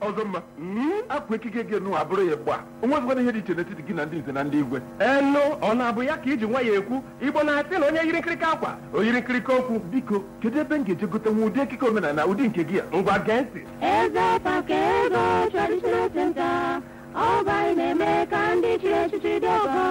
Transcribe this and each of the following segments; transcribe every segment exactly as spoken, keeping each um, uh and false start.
Ọzọ mma, akwa ekike gị nụ abụrụ ya gba onwezikwana ihe dị iche n'etiti gị na ndị nze na ndị igwe. Enu ọ na-abụ ya ka iji nwa ya ekwu Igbo na-asị na onye yiri nkirika akwa o yiri nkirika okwu. Biko, kedu ebe m ga-eje gote nwa ụdị ekike omenala ụdị nke gị a? Ngwa gee ntị. Eze Pakego Traditional Center, Ọba na-eme ka ndị chiri echichi dị ọgọ.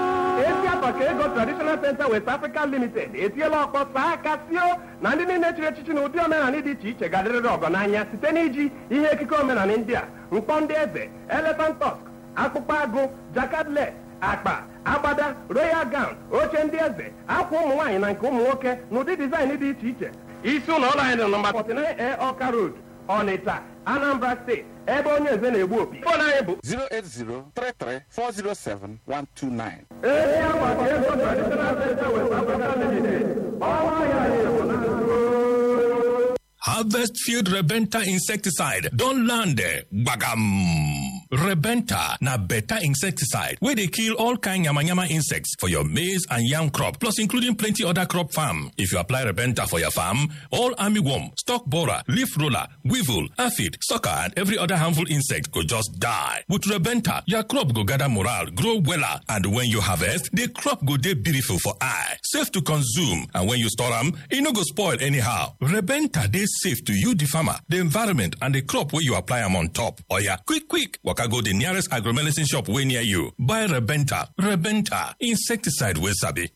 Ezi Apaka Ego Traditional Center West Africa Limited etiela ọkpọ saa aka sio na ndị niile chiri echichi na ụdị omenala dị iche iche ga-adịrịrị ọgọ n'anya site n'iji ihe ekike omenala ndị a: mkpọ ndị eze, elephant tusk, akpụkpọ agụ, jakadlet, akpa, agbada, royal gown, oche ndị eze, akwa ụmụ nwaanyị na nke ụmụ nwoke na ụdị dizaịn dị iche iche. Isi ụlọ ọrụ anyị dị nọmba forty-nine A Ọka Road, Ọnịcha, Anambra Steeti, ebe onye eze na-egbu opi. Fon anyị bụ zero eight zero three three four zero seven one two nine. Ezi Apaka Ego Traditional Center West Africa Limited. Ọnwa ya na-egbu na Harvest Field Rebenta insecticide don land eh, gbagam. Rebenta na better insecticide wey dey kill all kind yamayama insects for your maize and yam crop, plus including plenty other crop farm. If you apply Rebenta for your farm, all armyworm, stalk borer, leaf roller, weevil, aphid, sucker and every other harmful insect go just die. With Rebenta, your crop go gather morale, grow wella, and when you harvest, the crop go dey beautiful for eye, safe to consume, and when you store am, e no go spoil anyhow. Rebenta dey safe to you, the farmer, the environment, and the crop wey you apply am on top. Oya, quick, quick, waka go the nearest agromedicine shop wey near you. Buy Rebenta. Rebenta, insecticide wey sabi.